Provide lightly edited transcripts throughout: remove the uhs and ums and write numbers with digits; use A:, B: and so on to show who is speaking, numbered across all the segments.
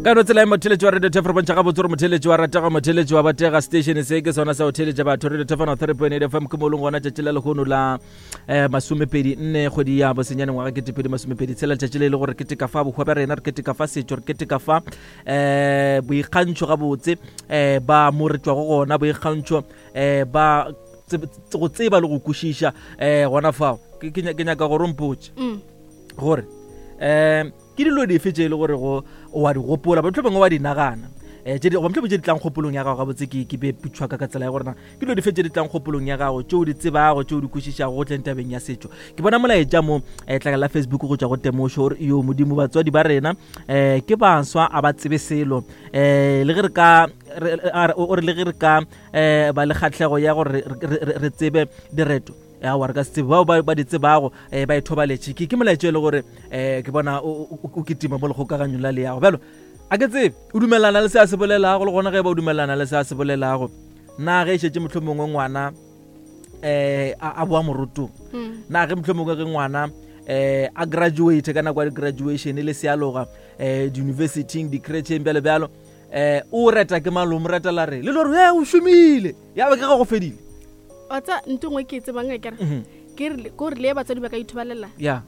A: Ka no tsela e motheletši wa Radio Thefo re bontšha gabotse gore motheletši wa ratega, motheletši wa batega. Station se ke sona sa go theletša batho. Radio Thefo 3.8 FM ke mo leng gona tšatši la lehono la eh, masomepedi nne kgwedi ya bosenyane ngwaga ketepedi masomepedi tshela, letšatši le e le gore re keteka fa bohwa bja rena, re keteka fa setšo, re keteka fa eh boikgantšho gabotse eh ba mo re tšwago gona, boikgantšho eh ba go tseba le go kwešiša eh gona fao. Ke nyaka gore o mpotše gore um ke dilo dife tše e le gore go wa di gopola, mohlomongwe bangwe wa di nagana um tše goba mohlomongwe tše di tlang kgopolong ya gago gabotse. Ke be putšhwa ka tsela ya gore na ke dilo dife tše di tlang kgopolong ya gago tše o di tsebago, tše o di kwešišago go tleng tabeng ya setšo. Ke bona molaetša mo um tlakala la Facebook go tšwa go Temošo gore yo modimo batswadi ba rena um ke baswa a ba tsebe selo um le ge re ka o re le ge re ka um ba le kgatlhego ya gore re tsebe direto, aowa re ka se tsebe, bao ba di tsebago um ba ithobaletše. Ke molaetšo e le gore um ke bona o kitima mo lekgokaganyong la leago. Bjalo a ke tsebe o dumelana le se a se bolelago, le gona ge ba o dumelana le se a se bolelago, na ge e šetše mohlho mongwe ngwana um a boa morotong, na ge mohlho mongwe ge ngwana um a graduate ka nako ya di-graduation le sealoga um di-universityng, di-cretšheng, bjalo bjalo, um o reta ke malome, reta la re le le gore e o šomile ya ba ke ga go fedile.
B: Wa tsa ntho nngwe ke e tsebang a kere ke re ko re le batswadi ba ka ithobalela
A: ya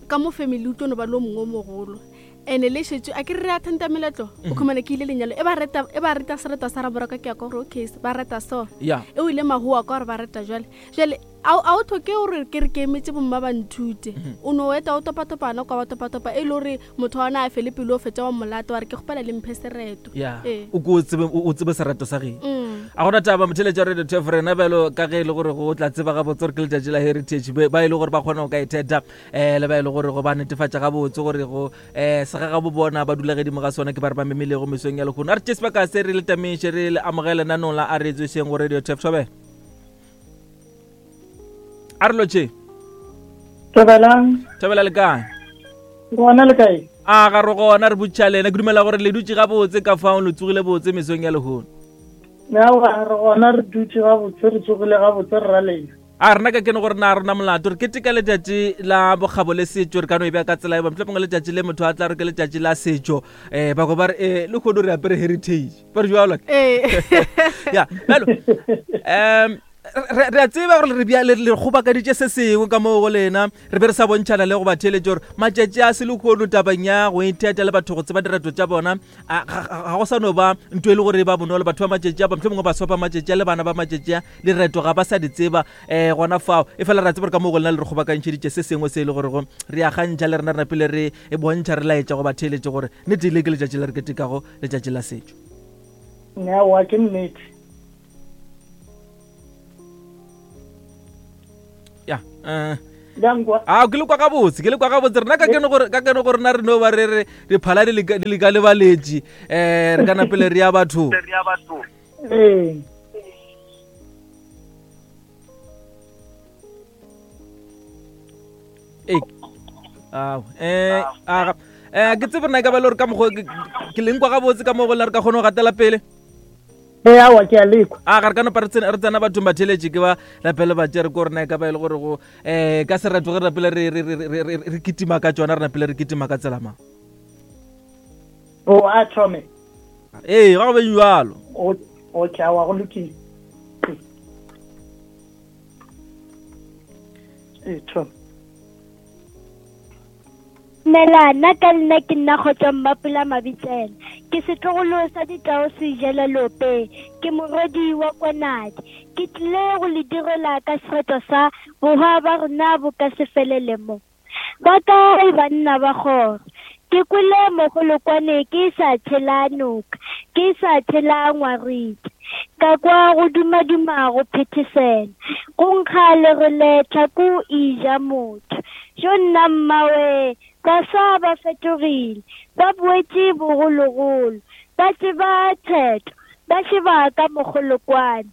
B: ka mo family o tlo no ba le o mongwe o mogolo ene le šetše a ke re re attenda meletlo, o khumana ke ile lenyalo e ba reta, e ba reta sereto sa raboroka, ke ya ka gore okay ba reta so
A: ya
B: e o ile mahoa ka gore ba reta jwale jwale a o tlhoke gore ke re ke emetse bomma ba nthute. O no eta o topatopana kwa ba topatopa e le gore motho wa ona a fele pelo, o fetša wa molata wa re ke kgopela le mphe sereto.
A: Ya o ko o tsebe o tsebe sereto sa geng. A gona taba motheletša Radio Tef rena bjalo ka ge e le gore go tla tseba gabotse gore ke letšatši la heritage, ba e le gore ba kgona go ka itheta um le ba e le gore go ba netefatša gabotse gore go um segagabo bona ba dula gedimo ga sona, ke ba re ba memilego mesong ya lehono. A re tše sebaka se re le tamiše, re le amogele nanong la a re tswešeng go Radio Tef. Thobela, a re lotše.
C: Thobelang.
A: Thobela, le kae?
C: Gona, le kae?
A: A ga re gona, re botša lena. Ke dumela gore le dutše gabotse ka fao, le tsogile botse mesong ya lehono.
C: Aowa, re gona, re dutše gabotse, re tsogile gabotse, re ra lena.
A: A rena ka kene gore na rona molato re keteka letšatši la bokgabo le setšo, re ka no e bea ka tsela e ba mohlomongwe letšatši le motho a tla re ke letšatši la setšo, um bako ba re um le kgono re apere heritage, ba re jalo.
B: Ee.
A: Ya bjalo um re a tseba gore re bja le le kgobakaditše se sengwe ka moo go lena, re be re sa bontšhana le go ba theeletše gore matšatši a se lehono tabeng ya go itheta le batho go tseba direto tša bona ga go sa no ba ntho e le gore e ba bonolo. Batho ba matšatši a ba mohlomongwe baswa ba matšatši a le bana ba matšatši a direto ga ba sa di tseba um gona fao. E fela re a tseba gore ka moo go lena le re kgobakantšheditše se sengwe se e le gorego re a gantšha le rena, re napile re e bontšha, re laetša go ba theeletše gore nnete le ke letšatši le re ketekago letšatši la setšo.
C: Aowa, ke nnete.
A: Ya eh.
C: Bjang kwa?
A: A ke le kwa gabotse, ke le kwa gabotse. Rena ka kene gore ka kene gore na re no ba re re diphala di leka di leka lebaletše eh re kana pele re ya batho.
C: Ee.
A: Ee. Ao eh a eh ke tsebe rena ka ba le gore ka mokgwa ke leng kwa gabotse ka mo go la re ka kgona go gatela pele.
C: Ee, aowa, ke a lekwa.
A: A ga re ka nopa re tsena re tsena bathong ba theletše ke ba lapele ba tšere ko rena e ka ba e le gore go um ka sereto ge re napile re re re re re kitima ka tšona, re napile re kitima ka tsela mang.
C: O a thome.
A: Ee, ga go be jalo.
C: O okay, aowa, go lokile. Ee, thome.
D: Dumela, nna ka nna ke nna Kgotso Mmapula Mabitsela. Ke setlogolo sa Ditau Seijela Leopeng. Ke morwedi wa Kwanadi. Ke tlile go le direla ka sereto sa Bohwa ba rena bo ka se felele mo. Ba kae banna ba kgoro? Ke kwele mogolokwane ke sa tshela noka, ke sa tshela ngwarite. Ka kwa go dumaduma go phethesela, go nkga lerole tlhako e ja motho. Jo nna mmawee, baswa ba fetogile, ba boetše bogologolo, ba tseba theto, ba šeba ka mogolokwane.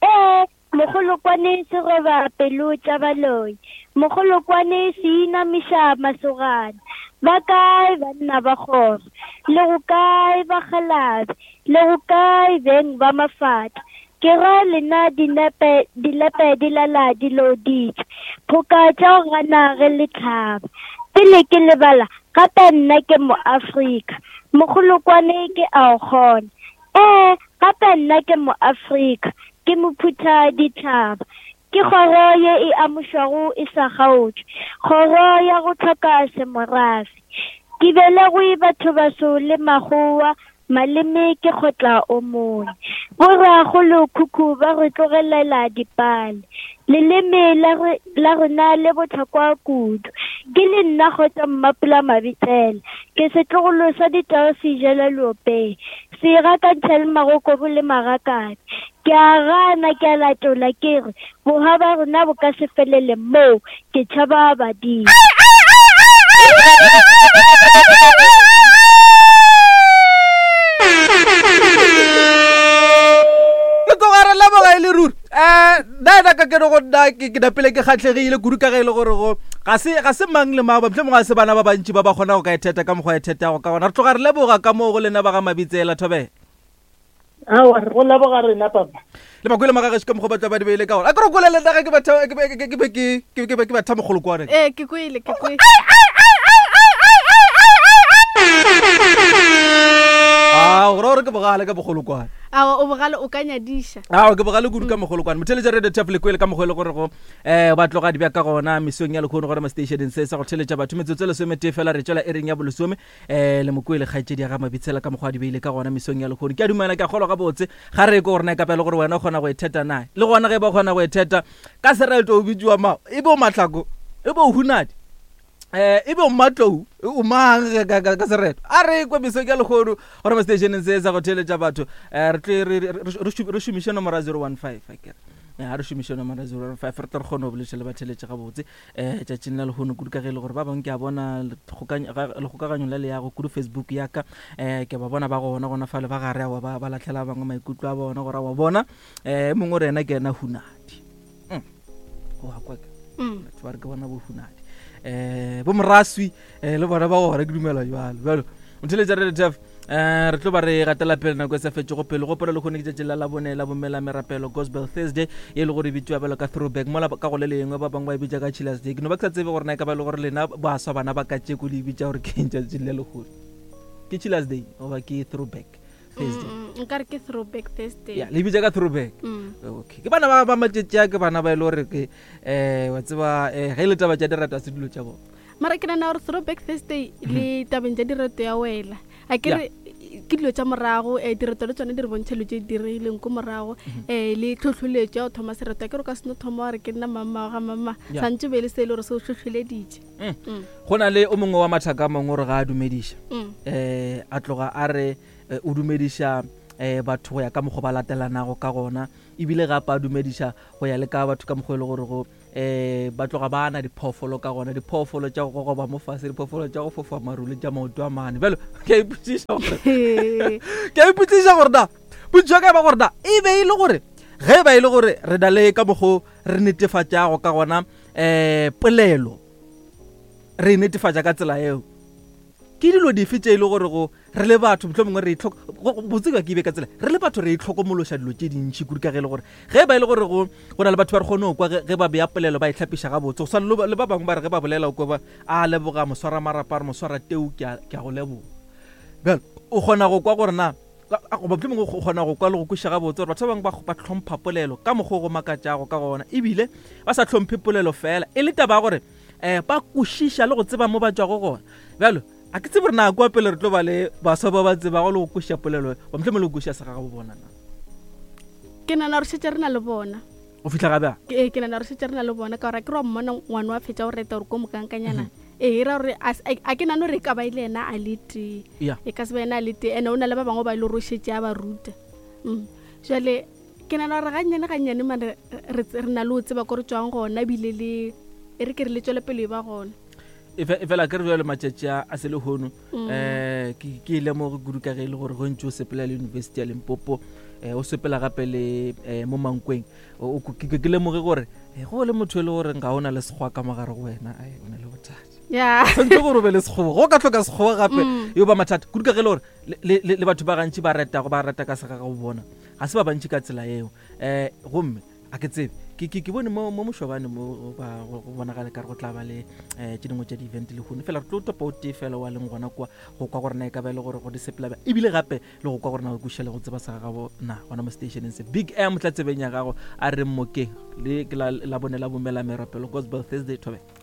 D: Ee, mogolokwane se roba pelo tša baloi, mogolokwane se inamiša masogana. Ba kae banna ba kgoro? Le go kae bakgalabe? Le go kae beng ba mafatla? Ke ra lena dinepe, dilepe di lala di looditšwe, phoka tša go gana ge le hlaba. Pele ke lebala, gape nna ke Moafrika. Mogolokwane ke a o kgona. Ee, gape nna ke Moafrika. Ke mophutha ditšhaba. Ke kgoro ye e amušwago e sa kgaotšwe, kgoro ya go hloka semorafe. Ke belegwe bathobaso le makgowa, maleme ke kgotla o mongwe. Borakgolokhukhu ba re tlogelela dipale. Leleme la, re, la rena le bohlokwa kudu. Ke le nna Kgotso Mmapula Mabitsela. Ke setlogolo sa ditau sejela leopeng. Se gakantšha le magokobu le magakabe. Ke a gana, ke a latola, ke re, bohwa ba rena bo ka se felele moo, ke tšhaba badimo.
A: Re tloga re leboga e le ruri um nna ena ka kene go nna ke napele ke kgatlhegile kudu ka ge e le gore go ga se ga se mang le mang mohlomongwe ga se bana ba bantši ba ba kgona go ka itheta ka mokgwa ithetago ka gona. Re tloga re leboga ka moo go lena ba ga Mabitsela Thobela.
C: Aowa, re go leboga rena papa.
A: Le makwele magagešo ka mokgwa ba tla ba di beile ka gona. A ke re kwele le nna ge ke betha ke be ke be ke ke be ke betha mogolokwane.
B: Ee, ke kwele, ke kwele.
A: A go ra gore ke bogale ka mogolokwane.
B: Aowa, o bogale o ka nyadiša.
A: Aowa, ke bogale kudu ka mogolokwane. Motheletša Radio Taf le kwele ka mokgwa e le gore go um ba tloga di bja ka gona mesong ya lekgono gore mo stationeng se sa go theletša batho metsotso e lesometee fela re tšwela ereng ya bolesome um le mokwele kgaetšedi ya ga Mabitsela ka mokgwa a di beile ka gona mesong ya lekgono. Ke a dumela, ke a kgolwa gabotse ga re ko gore na e ka ba e le gore wena o kgona go e theta na. Le gona ge e ba o kgona go e theta ka sereto o bitšiwa mang? E be o Mahlako, e be o Hunadi, um e be o Mmatlou, o mang ka sereto? A re kwe mesong ya lekgono gore mo stationeng se sa go theeletša batho um re tle re šomiše nomoro ya 015 akere. Ga re šomiše nomoro ya 015 re tle re kgone go boletša le batheeletši gabotse. um tšatšing la lehono kudu ka ge e le gore ba bangwe ke a bona lekgokaganyong la leago kudu Facebook ya ka um ke ba bona ba gona gona fale ba gare awa ba latlhela ba bangwe maikutlo a bona gore wa bona um mongwe re ena ke ena Hunadi wa kwa ke batho ba re ke bona bo Hunadi um bo Moraswi um le bona ba gona ke dumela jalo jalo motheletša re letef um re tlo ba re gatela pele nako e sa fetšego pele gopola le kgone ke tšatši la labone la bomela merapelo gospel thursday e le gore e bitšwa bjalo ka throwback mola ka go le lengwe ba bangwe ba e bitša ka chillers day ke no ba ke sa tsebe gore na e ka ba le gore lena baswa bana ba katšeko le e bitša gore ke eng tšatši le legolo ke chillers day goba ke throwback thursday
B: nka re ke throwback thursday
A: ya le bitša ka throwback okay ke bana ba ba matšatši a ke bana ba e le gore ke um wa tseba um ge e le taba tša direto a se dilo tša bona
B: mara ke nana gore throwback thursday le tabeng tša direto ya wela a ke re ke dilo tša morago um direto le tsone di re bontšha dilo tše di diregileng ko morago um le tlhotlholetšo ya go thoma sereto a ke re o ka seno thoma wa re ke nna mamma wa ga mamma santse be le se e le gore se o tlhotlholeditše
A: Go na le o mongwe wa mathaka a mangwe gore ga a dumediša um a tloga a re o dumediša um batho go ya ka mokgwa ba latelanago ka gona ebile gape a dumediša go ya le ka batho ka mokgwa e le gore go um ba tloga ba ana diphoofolo ka gona diphoofolo tša go gogoba mo fase diphoofolo tša go fofa maru le tša maoto a mane bjalo ke a ipotsiša gore ke a ipotsiša gore na potšišo ka e ba gore na e be e le gore ge e ba e le gore re na le ka mokgo re netefatšago ka gona um polelo re e netefatša ka tsela eo ke dilo dife tše e le gore go re le batho mohlomongwe mongwe re itlhoko botse ka ke be ka tsela re le batho re itlhokomološa dilo tše dintšhi kudu ka ge e le gore ge e ba e le gore go go na le batho ba re kgone go kwa ge ba bea polelo ba e hlapiša gabotse go swana le ba bangwe ba re ge ba bolela o kwa ba a leboga moswara marapa re moswara teu ke a ke a go leboga bjalo o kgona go kwa gore na goba mohlomongwe o kgona go kwa le go kweša gabotse gore batho ba bangwe ba hlompha polelo ka mokgwa o go makatšago ka gona ebile ba sa hlomphe polelo fela e le taba ya gore um ba kwešiša le go tseba mo ba tšwago gona bjalo a ke tsebe gore na kua pele re tlo ba le baswa ba ba tsebago le go kwešiša polelo ba mohlomongwe le go kwešiša segagabo bona na
B: ke nana gore šetše re na le bona
A: go fihla ga bjang
B: ee ke nana gore šetše re na le bona ka gore a ke re wa mmona ngwana wa fetša go reta gore ko mokankanyana ee e ra gore a ke nane gore e ka ba e le yena a le tee e ka se ba yena a le tee ene o na le ba bangwe ba e le gore o šetše a ba ruta jale ke nana gore gannyane gannyane mane re na le o tseba ko re tswang gona ebile le e re ke re le tswele pele e ba gona
A: e fela ke re jale matšatši a se lehono um ke e lemoge kudu ka ge e le gore go ntse o sepela le university ya Limpopo um o sepela gape le um mo Mankweng ke lemoge gore go le motho e le gore ga o na le sekgowa ka mogare go wena ai o na le bothata tshwanetse gore o be le sekgowa go ka tlhoka sekgowa gape yo ba mathata kudu ka ge e le gore le batho ba gantši ba retago ba reta ka segagabo bona ga se ba bantši ka tsela eo um gomme A ke tsebe, ke ke ke bone mo mo mošobane mo go ba go bonagale ka re go tla ba le um tše dingwe tša di-event le hone fela re tlo topa o tee fela wa leng gona kwa go kwa gore na e ka ba e le gore go di sepela bjang ebile gape le go kwa gore na o kwešiša le go tseba sa gagabo na gona mo stationeng se. Big M tla tsebeng ya gago a re mmokeng le ke la la bone la bomela merapelo Gospel Thursday thobela.